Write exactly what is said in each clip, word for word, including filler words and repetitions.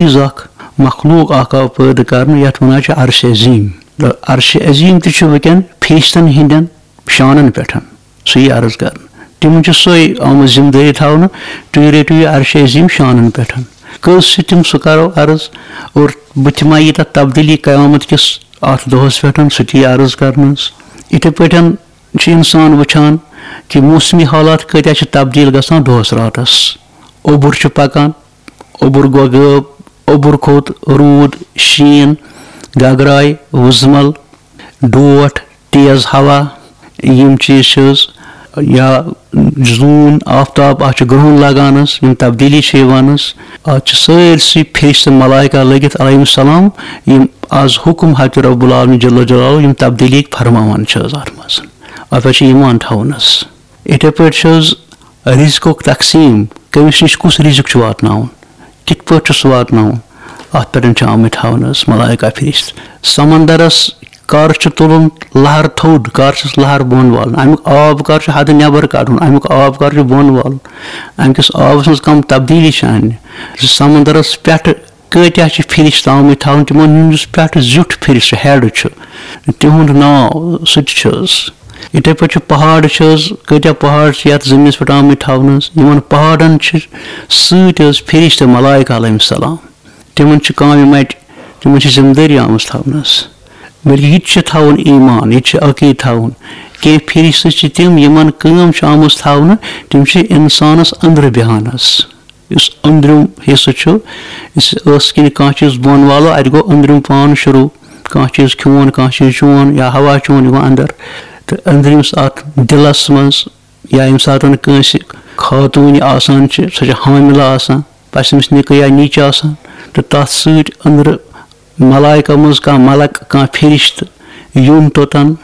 چیٖز اکھ، مخلوق اکھ آو پٲدٕ کرنہٕ، یتھ ونان چھِ عرش عظیم۔ تہٕ عرش عظیم تہِ چھُ وٕنکیٚن فرشتن ہٕنٛدٮ۪ن شانن پٮ۪ٹھ۔ سُہ یی عرض کرنہٕ۔ تِمن چھِ سۄے آمٕژ ذمہٕ دٲری تھاونہٕ، تُہۍ رٔٹِو یہِ عرش عظیم شانن پٮ۪ٹھ۔ کٔژ چھِ تِم، سُہ کرو عرض۔ اور بہٕ تہِ ما یی تتھ تبدیٖلی قیامت کِس اتھ دۄہس پٮ۪ٹھ، سُہ تہِ یی عرض کرنہٕ حظ۔ یِتھے پٲٹھۍ چھُ انسان وٕچھان کہِ موسمی حالات کۭتیاہ چھِ تبدیٖل گژھان دۄہس راتس۔ اوٚبُر چھُ پکان، اوٚبُر گوٚو غٲب، اوٚبُر کھوٚت، روٗد، شیٖن، گگراے، وُزمل، ڈوٹھ، تیز ہوا، یِم چیٖز چھِ حظ، یا زوٗن، آفتاب، اَتھ چھُ گرٛہُن لگان حظ، یِم تبدیٖلی چھِ یِوان حظ۔ اَتھ چھِ سٲرسٕے فرشتہٕ ملائکہ لٔگِتھ علیہم السلام، یِم از حکم حضرت رب العالمین جل جلالہ یِم تبدیٖلی فرماوان چھِ حظ اَتھ منٛز۔ اَتھ پٮ۪ٹھ چھُ ایمان تھاوُن حظ۔ یِتھے پٲٹھۍ چھِ حظ رزقُک تقسیٖم، کٔمِس نِش کُس رزق چھُ واتناوُن، کِتھ پٲٹھۍ چھُ سُہ واتناوُن، اَتھ پٮ۪ٹھ چھِ آمٕتۍ تھاونہٕ حظ ملائکہ فرشتہٕ۔ سمندرس کر چھُ تُلُن لہر تھوٚد، کر چھُس لہر بۄن والُن، اَمیُک آب کر چھُ حدٕ نٮ۪بر کڑُن، اَمیُک آب کر چھُ بۄن والُن، اَمہِ کِس آبس منٛز کم تبدیٖلی چھِ اَنٕنۍ۔ سمندرس پٮ۪ٹھٕ کۭتیاہ چھِ فرشتہٕ آمٕتۍ تھاونہٕ، تِمن ہُنٛد یُس پٮ۪ٹھٕ زیُٹھ فرشتہٕ، ہیڈ چھُ، تِہُنٛد ناو، سُہ تہِ چھُ حظ۔ یِتھے پٲٹھۍ چھُ پہاڑ چھِ حظ، کۭتیاہ پہاڑ چھِ یتھ زٔمیٖنس پٮ۪ٹھ آمٕتۍ تھاونہٕ حظ۔ یِمن پہاڑن چھِ سۭتۍ حظ فرشتہٕ ملائکہ علیہم السلام۔ تِمن چھِ کامہِ مٹہِ، تِمن چھِ ذمہٕ دٲری آمٕژ تھاونہٕ حظ۔ بلکہِ یہِ تہِ چھُ تھاوُن ایمان، یہِ تہِ چھُ عقیٖد تھاوُن۔ کینٛہہ فرشتہٕ چھِ تِم، یِمن کٲم چھِ آمٕژ تھاونہٕ، تِم چھِ انسانس أنٛدرٕ بیہان حظ۔ یُس أنٛدرِم حصہٕ چھُ، یُس ٲسہٕ کِنۍ کانٛہہ چیٖز بۄن والو، اَتہِ گوٚو أنٛدرِم پان شروٗع۔ کانٛہہ چیٖز کھیوٚون، کانٛہہ چیٖز چیوٚون یا ہوا چیوٚون، یہِ گوٚو اَندر۔ تہٕ أنٛدرِمِس اَتھ دِلَس منٛز، یا ییٚمہِ ساتہٕ کٲنٛسہِ خاتوٗنہِ آسان چھِ، سۄ چھِ حاملہٕ آسان، پَژھِ أمِس نِکہٕ یا نِچ آسان، تہٕ تَتھ سۭتۍ أنٛدرٕ ملائکہ منٛز کانٛہہ ملک، کانٛہہ فرشتہٕ یُن توٚتَن،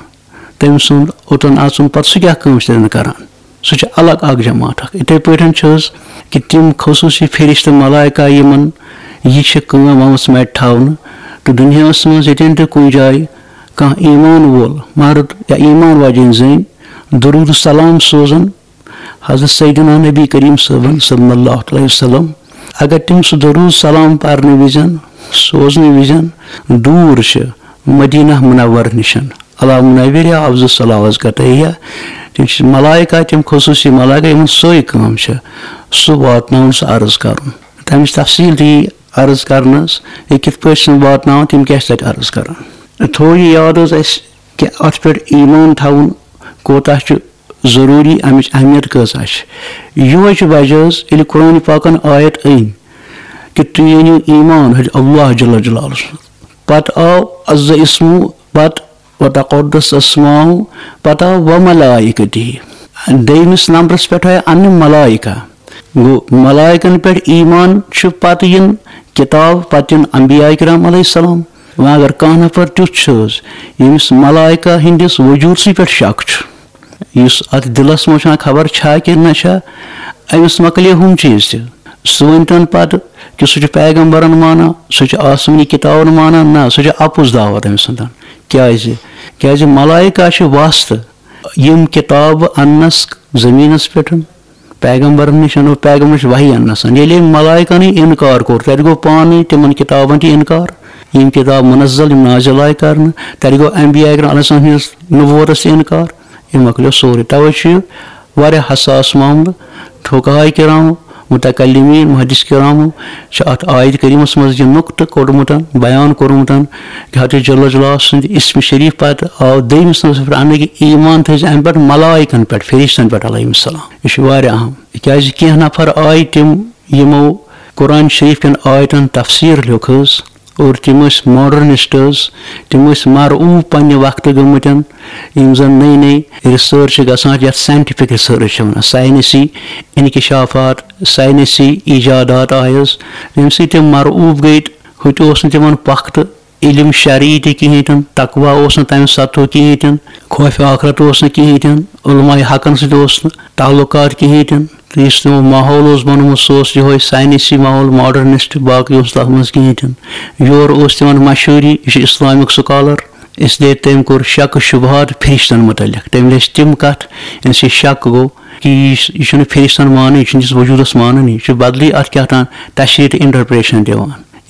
تٔمۍ سُنٛد اوٚتَن اَژُن، پَتہٕ سُہ کیٛاہ کٲم چھِ تَتٮ۪ن کران؟ سُہ چھُ الگ اکھ جماعت اکھ۔ یِتھے پٲٹھۍ چھِ حظ کہِ تِم خصوٗصی فرشتہٕ ملائکہ یِمن یہِ چھِ کٲم آمٕژ مَٹہِ تھاونہٕ، تہٕ دُنیاہَس منٛز ییٚتٮ۪ن تہِ کُنہِ جایہِ کانٛہہ ایمان وول مرد یا ایمان واجیٚنۍ زٔنۍ درود سلام سوزان حضرت سیدنا نبی کریم صٲبن صلی اللہ علیہ وسلم، اگر تِم سُہ درود سلام پرنہٕ وِزٮ۪ن، سوزنہٕ وِزٮ۪ن دوٗر چھِ مدینہ منور نِشن، علی منورہ افضل الصلوات کتیا، تِم چھِ ملائکہ، تِم خصوٗصی ملائکہ یِمن سۄے کٲم چھِ، سُہ واتناوُن، سُہ عرض کرُن۔ تَمِچ تفصیٖل تہِ یی عرض کرنہٕ حظ، یہِ کِتھ پٲٹھۍ چھِ واتناوان، تِم کیٛاہ چھِ تَتہِ عرض کران۔ تھوو یہِ یاد حظ اَسہِ کہِ اَتھ پٮ۪ٹھ ایمان تھاوُن کوتاہ چھُ ضروٗری، اَمِچ اہمیت کۭژاہ چھِ۔ یِہوٚے چھُ وجہ حظ، ییٚلہِ قرآن پاکن آیت أنۍ کہِ تُہۍ أنِو ایمان حظ اللہ جل جلالہ۔ پتہٕ آو عز اسمہ، پتہٕ وتقدس اسماء، پتہٕ آو وملائکتہ۔ دوٚیمِس نمبرس پٮ۪ٹھ آیہِ انہٕ ملائکہ۔ گوٚو، ملائکن پٮ۪ٹھ ایمان چھُ پتہٕ یِن کتاب، پتہٕ یِن انبیاء کرام علیہ السلام۔ وۄنۍ اگر کانٛہہ نفر تیُتھ چھُ حظ، ییٚمِس ملائکہ ہٕنٛدِس وجوٗدسٕے پٮ۪ٹھ شک چھُ، یُس اتھ دِلس منٛز چھُ خبر چھا کِنہٕ نہ چھا، أمِس مۄکلے ہُم چیٖز تہِ۔ سُہ ؤنۍتن پتہٕ کہِ سُہ چھُ پیغمبرن مانان، سُہ چھُ آسمٲنی کتابن مانان، نہ، سُہ چھُ اپُز دعوت أمۍ سُنٛدن۔ کیازِ؟ کیازِ ملائکہ چھِ واسطہٕ یِم کتابہٕ اننس زٔمیٖنس پٮ۪ٹھ، پیغمبرن نِش انو، پیغمبرن نِش وحی اننس۔ ییٚلہِ أمۍ ملائکن یہِ انکار کوٚر، تتہِ گوٚو پانے تِمن کتابن تہِ انکار، یِم کتاب منزل، یِم نازل آیہِ کرنہٕ، تتہِ گوٚو انبیاء کرام علیہ السلام ہٕنٛدِس نبوتس تہِ انکار۔ یہِ مۄکلیو سورُے۔ توے چھُ یہِ واریاہ حساس معاملہٕ۔ فقہاء کرامو، متکلمین، محدث کرامو چھِ اتھ آیت کریمس منٛز یہِ نقطہٕ کوٚڑمُت، بیان کوٚرمُت کہِ حضرت جل جلالہ سٕنٛدِ اسم شریف پتہٕ آو دوٚیمِس نمبرس پٮ۪ٹھ اننہٕ کہِ ایمان تھٲیزِ امہِ پٮ۪ٹھ ملائکن پٮ۪ٹھ، فرشتن پٮ۪ٹھ علیہم السلام۔ یہِ چھُ واریاہ اہم، کیازِ کینٛہہ نفر آیہِ تِم، یِمو قرآن شریف کٮ۪ن آیتن تفسیر لیوٚکھ حظ، اور تِم ٲسۍ ماڈرنسٹ حظ، تِم ٲسۍ مرعوب پننہِ وقتہٕ گٔمٕتٮ۪ن۔ یِم زن نٔے نٔے ریسرچ چھِ گژھان، یتھ ساینٹیفک ریسرچ چھِ ونان، ساینسی انکشافات، ساینسی ایجادات آیہِ حظ، ییٚمہِ سۭتۍ تِم مرعوب گٔے۔ ہُتہِ اوس نہٕ تِمن پۄختہٕ علم شرعی تہِ کِہیٖنۍ تہِ نہٕ، تقوی اوس نہٕ تمہِ سطحُک کِہیٖنۍ تہِ نہٕ، خوف آخرت اوس نہٕ کِہیٖنۍ تہِ نہٕ، علماء حقن سۭتۍ اوس نہٕ تعلقات کِہیٖنۍ تہِ نہٕ۔ تہٕ یُس تِمو ماحول اوس بنومُت، سُہ اوس یِہوٚے ساینسی ماحول، ماڈرنسٹ، باقٕے اوس تتھ منٛز کِہیٖنۍ تہِ نہٕ۔ یورٕ اوس تِمن مشہوٗری، یہِ چھُ اسلامُک سکالر، اس لیے تٔمۍ کوٚر شک و شبہات فرشتن متعلق۔ تٔمۍ لیٚچھ تِم کتھ، ییٚمہِ سۭتۍ شک گوٚو کہِ یہِ چھُ، یہِ چھُنہٕ فرشتن مانان، یہِ چھُنہٕ یِس وجوٗدس مانان، یہِ چھُ بدلٕے اتھ کیٛاہ تام تشریح تہٕ انٹرپریشن دِوان۔